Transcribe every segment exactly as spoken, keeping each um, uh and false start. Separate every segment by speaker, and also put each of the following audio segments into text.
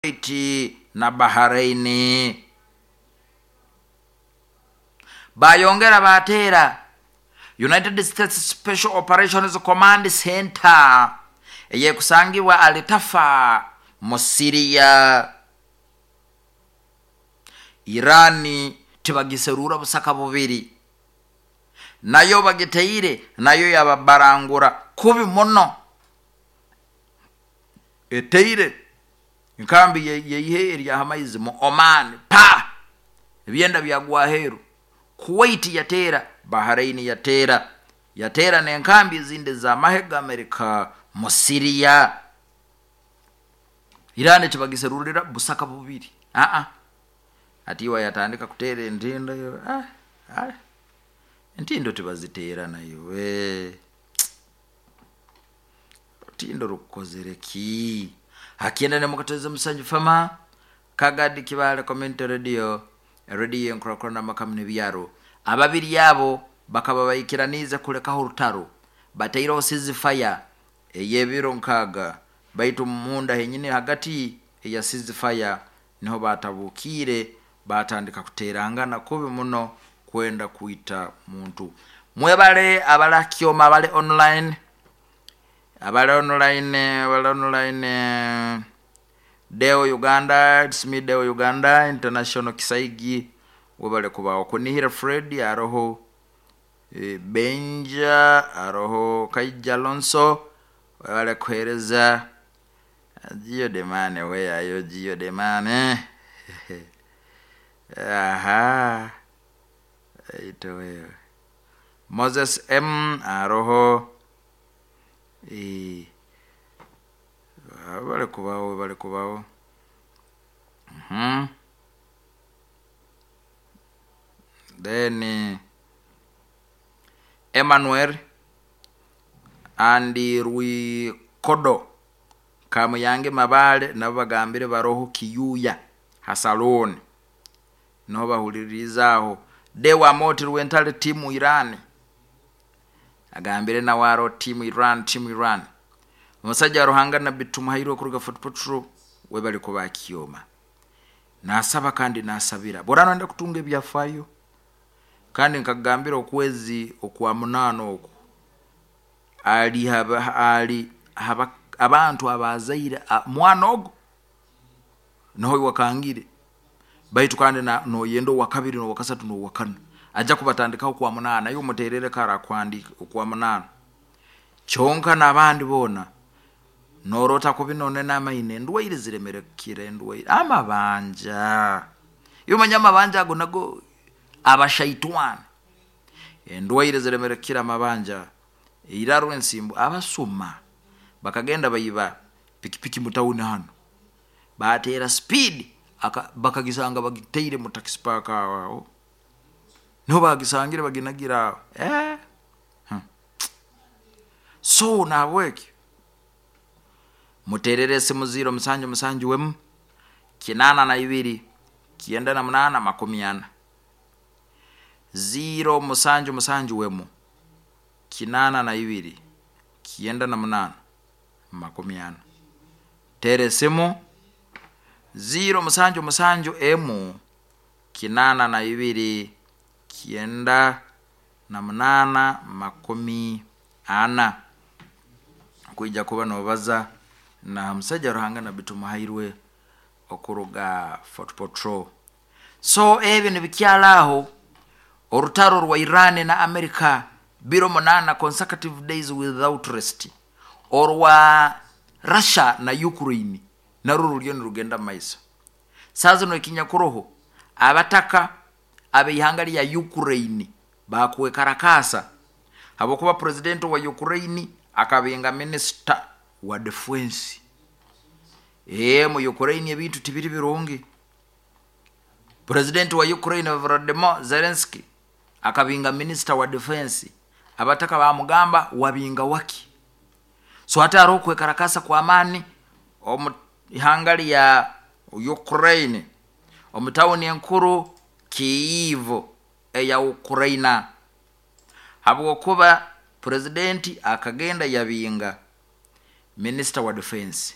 Speaker 1: Kuwait na Bahrain. Bayongera bateera United States Special Operations Command Center eyekusangibwa Alitafa mu Syria. Irani tibagiserura busaka bubiri, nayo bagiteire, nayo yababarangura kubi muno. Eteire enkambi yeihe eryahamaizi mu Oman, pa ebyenda byagwaheru. Kuwait yateera, Bahrain yateera, yateera n'enkambi ezindi z'amahe g'Amerika mu Syria. Irani tibagiserurira busaka bubiri, aa atiwa yatandika kuteera entindo. ah, ah. Entindo tibaziteera nayo, tindo rukukozere ki hakienda nemukateza musanju fama Kagadi Kibale Community Radio, radio enkurakurana makamu n'ebyaro. Ababiri abo bakaba baikiranize kulekaho orutaro, bataireho ceasefire ey'ebiro nkaaga, baitu munda henyini hagati eya ceasefire niho batabukiire batandika kuterangana kubi muno kwenda kwita muntu. Mwebale abalakyoma abali online, abali online, abali online. Deo Uganda, it's me Deo Uganda International Kisaigi, webale kubaho. Kunihira Fred aroho, e, Benja aroho, Kaija Alonso webale kuhereza. Gio Demane, weyayo Gio Demane? Aha, ito wewe Moses M aroho, e, bale kubaho, bale kubaho. mm-hmm. Then Emmanuel Andi Rwikodo Kamuyange Mabale nabo bagambire baroho Kiyuya hasaloni niho bahulirizaho. Dewa Moti Rwentale timu Iran agambire nawe aro timu Iran, timu Iran. Omusajja wa Ruhanga Nabbi Tumuhairwe kuruga Fort Portal, webali kuba kyoma nasaba kandi nasabira borano nda kutunga ebyafayo, kandi nkagambira okwezi okwa munana oku ali haba, ali haba, abantu abazaire mwana ogo niho wakangire, baitu kandi noyenda owa kabiri n'owa kasatu n'owa kana ajja kubatandikaho kwa munana, yo muterere kara kwandika okwa munana kyonka n'abandi boona norota kubi none n'amaine endwaire ziremerekire, endwaire amabanja, iyo manya amabanja ago nago abashaitwana, endwaire ziremerekire amabanja eiraro ensimbu. Abasuma bakagenda baiba pikipiki mutawuni hano, batera speed bakagisanga bagiteire mu taxi park aho niho bagisangire baginagira aho eh hmm. So nabweki muterere esimu ziro musanju musanju wemu kinana na ibiri kienda na munana makumi ana, ziro musanju musanju wemu kinana na ibiri kienda na munana makumi ana. Tere simu ziro musanju musanju emu kinana na ibiri kienda na munana makumi ana, kwija kuba nobaza na musajja Ruhanga Nabbi Tumuhairwe okuruga Fort Portal. So ebyo nibikyalaaho orutaro rwa Iran na America biro munana consecutive days without rest. Orwa Russia na Ukraine narwo ruriyo nirugenda mumaiso. Saa zino ekinyakuroho abataka abeihanga lya Ukraine bakwekarakasa habwokuba president wa Ukraine akabenga minister wa defense. Ee mu Ukraine ebintu tibiri birungi. President wa Ukraine Volodymyr Zelensky akabinga minister wa defense, abataka bamugamba wabinga waki. So hati hariho okwekarakasa kw'amaani omu ihanga lya Ukraine omu tawuni enkuru Kyiv eya Ukraine, habwokuba president akagenda yabinga minister wa defense.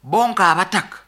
Speaker 1: Bonka abataka